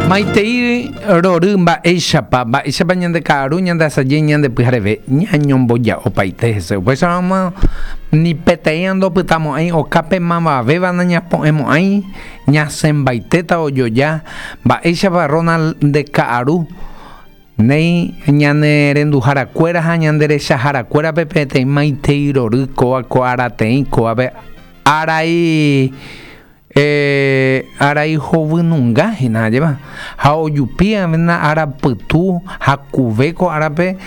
Maitei rory mba'éichapa, mba'éichapa ñande ka'aru, ñande asaje, ñande pyhareve, ñañomboja'opaite hese. Upéicharamo ni peteĩva ndopytamo'ãi okápe mavavéva nañapo'ẽmo'ãi, ñasẽmbaitéta ojoja. Mba'éichapa Ronald nde ka'aru, néi ñane renduharakuéra ha ñande rechaharakuérape peteĩ maitei rory kóva ko arateĩ kóvape arai Arai hovynunga hína, ajépa? Ha ojupi avena ára pytu hakuve ko árape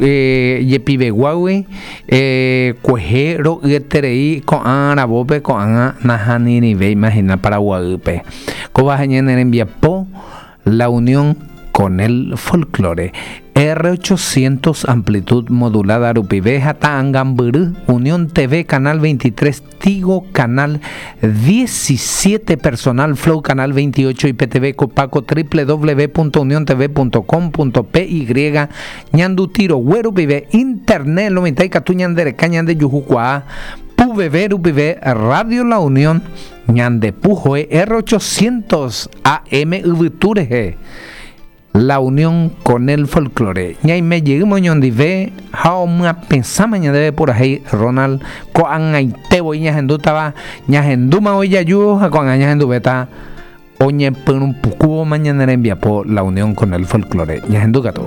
jepiveguágui kuehe ro'yeterei ko'ã aravópe ko'ág̃a nahanirĩvéima hína Paraguaýpe. Kóva ha ñane rembiapo La unión con el folklore. R800 amplitud modulada rupive ha ta'angambyry Unión TV Canal 23 Tigo Canal 17 Personal Flow Canal 28 IPTV Copaco www.uniontv.com.py Ñanduti rogue rupive Internet lo mitã ikatu ñandereka ñandejuhukuaa PUVV rupive Radio La Unión Ñande puhoe R800 AM yvytu rehe, La unión con el folklore. Ñaime jeýma oñondive ha omyapesãma ñandéve purahéi Ronald ko'ag̃aite voi ñahendútava, ñahendúma voi jaju ha ko'ag̃a ñahenduvéta oñepyrũpukúvoma ñane rembiapo La unión con el folklore. Ñahendu katu.